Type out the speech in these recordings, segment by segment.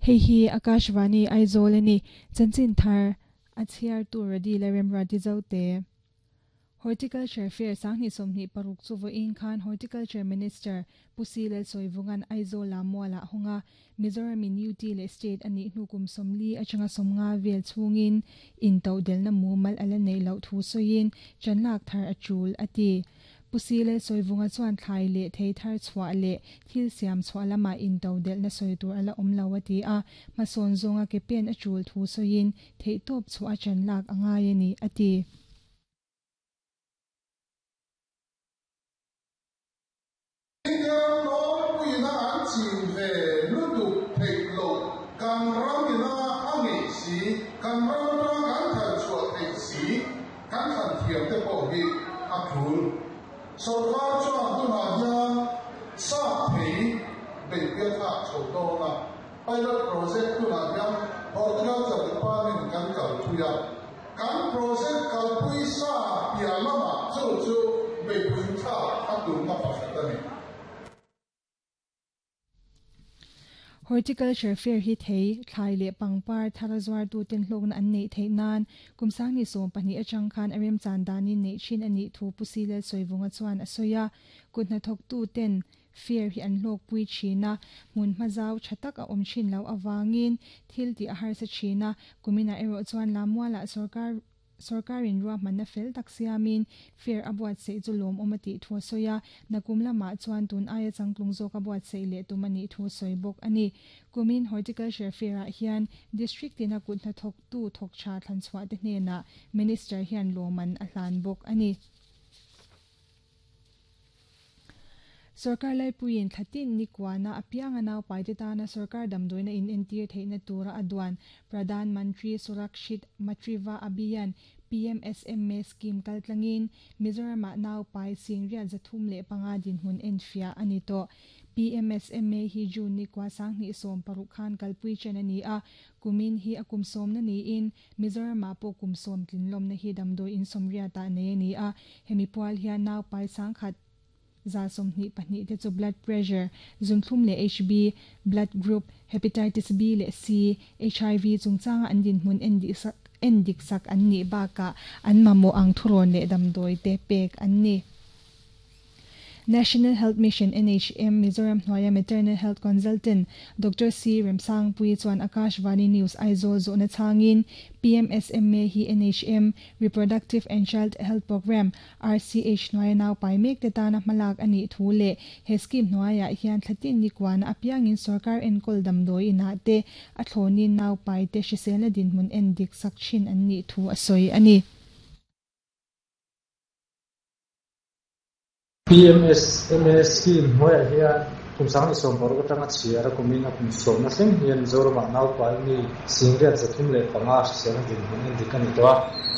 Hei hi Akashvani Aizawl a ni. Chanchin thar a chhiartu Radila Remruati Zote. Horticulture Fair 2026 chu vawiin khan Horticulture Minister Pu Si Lalsawivunga'n Aizawla mualah hawng a, Mizoram in UT leh State a nih hnu kum 40 atanga 50 vel chhungin intodelhna mumal a la neih loh thu sawiin chanlak thar a tul a ti. Pu Si Lalsawivunga chuan thlai leh thei thar chhuah leh thil siam chhuah lamah intodelhna sawi tur a la awm lo a ti a, hmasawn zawnga ke pen a tul thu sawiin theihtawp chhuah a chanlak a ngai a ni a ti. India nawlpuiina an chin ve lutuk theih loh kan ram ina a ngeih si, kan ram atanga kan thar chhuah theih si kan thlan thiam te pawh hi a tul. Sorkar chuan tunah hian sap thei beihpui a thlak chho dawn a, pilot project tunah hian Horticulture Department kan kalpui a. Kan project kalpui sa piah lamah chu chu beihpui thlak a tumna pakhat a ni. Horticulture Fair hi thei, thlai leh pangpar thar a zuartuten hlawkna an neih theih nan kum 2020 atang khan a remchan danin neih thin a nih thu Pu Silel Sawivunga chuan a sawi a. Kut hnathawktuten Fair hi an hlawkpui thin a, hmun hma zau tha tak a awm thin loh avangin thil tih a harsa thin a, kuminah erawh chuan Lamualah sorkar sorkarin ruahmanna fel tak siamin fair a buatsaih chu lawmawm a tih thu a sawi a, nakum lamah chuan tun aia changtlung zawk a buatsaih leh tum a nih thu a sawi bawk a ni. Kumin Horticulture Fair-ah hian District tina kut hnathawktu thawk tha thlanchhuah te hnenah Minister hian lawmman a hlan bawk a ni. Sorkar laipuiin thlatin ni kuana apianga naupaite tana sorkar damdawina inentir theihna tura a duan Pradhan Mantri Surakshit Matriva Abhiyan, PMSMA, scheme kaltlangin Mizoramah naupai singriat 305 dinhmun enfiah a ni tawh. PMSMA hi June ni kua 2016 khan kalpui chen a ni a, kumin hi a kum sawmna niin Mizoramah pawh kum sawm tlinlawmna hi damdawi in sawmriatah nei a ni a, hemi pual hian naupai 1122 te chu blood pressure, zunthlum leh HB, blood group, hepatitis B leh C, HIV chungchanga an dinhmun en dik sak an nih bakah an mamawh ang thurawn leh damdawi te pek an ni. National Health Mission, NHM, Mizoram hnuaia Maternal Health Consultant Doctor C. Remsangpui chuan Akashvani News Aizawl zawhna chhangin PMSMA hi NHM Reproductive and Child Health Programme, RCH, hnuaia naupai mek te tana hmalak a nih thu leh he scheme hnuaiah hian thlatin ni kuana apiangin sorkar enkawl damdawi inah te a thlawnin naupai te hriselna dinhmun en dik sak thin an nih thu a sawi a ni. PMSMA scheme hnuaiah hian kum 2016 atanga chhiar a kumin a kum sawmna thleng hian Mizoramah naupai mi 305 hriselna dinhmun en dik a ni tawh a.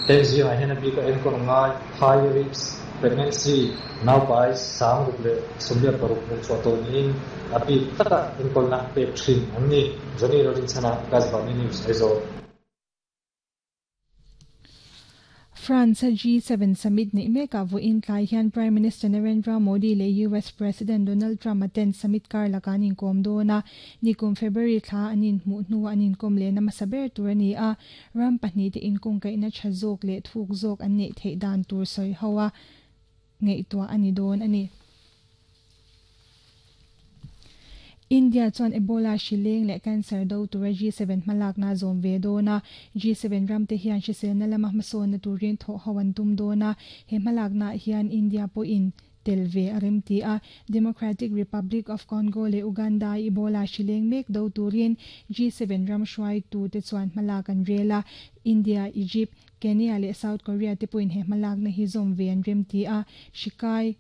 Heng zingah hian a bika enkawl ngai, high risk pregnancy, naupai 646 hmuh chhuah tawh niin a bik taka enkawlna pek thin an ni. Johnny Rorinchhana, Akashvani News, Aizawl. France a G7 summit neih mekah vawiin tlai hian Prime Minister Narendra Modi leh US President Donald Trump a ten summit kar lakah an inkawm dawn a, nikum February thla an inhmuh hnuah an inkawm lehna hmasa ber tur a ni a, ram pahnih te inkawngkaihna tha zawk leh thuk zawk an neih theih dan tur sawi ho a ngaihtuah a ni dawn a ni. India chuan Ebola hri leng leh cancer do tura G7 hmalakna a zawm ve dawn a, G7 ramte hian hriselna lama hmasawnna turin thawh ho an tum dawn a, he hmalaknaah hian India pawhin tel ve a rem ti a. Democratic Republic of Congo leh Uganda a Ebola hri leng mek do turin G7 ram hruaitute chuan hmalak an rel a, India, Egypt, Kenya leh South Korea te pawhin he hmalakna hi zawm ve an rem ti a, hri kai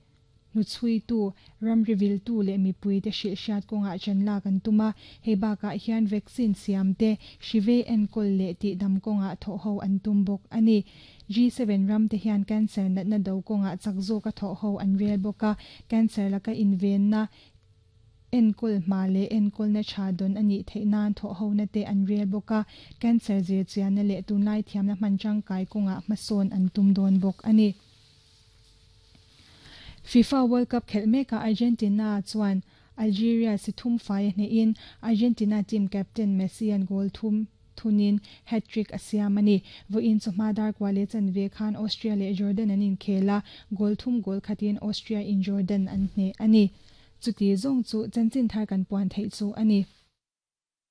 hnuchhuitu, ramri viltu leh mipuite hrilhhriat kawngah chanlak an tum a, hei bakah hian vaccine siam te, hri vei enkawl leh tihdam kawngah thawh ho an tum bawk a ni. G7 ram te hian cancer natna do kawngah chak zawka thawh ho an rel bawk a, cancer laka invenna, enkawl hma leh enkawlna tha dawn a nih theih nan thawh hona te an rel bawk a, cancer zirchianna leh tunlai thiamna hman tangkai kawngah hmasawn an tum dawn bawk a ni. FIFA World Cup khelh mekah Argentina chuan Algeria si thum fai a hnehin Argentina team captain Messi an goal thum thunin hat-trick a siam a ni. Vawiin chawhma dar kua leh chanve khan Austria leh Jordan an inkhel a, goal thum goal khatin Austria in Jordan an hneh a ni. Chuti zawng chu chanchin thar kan puan theih chu a ni.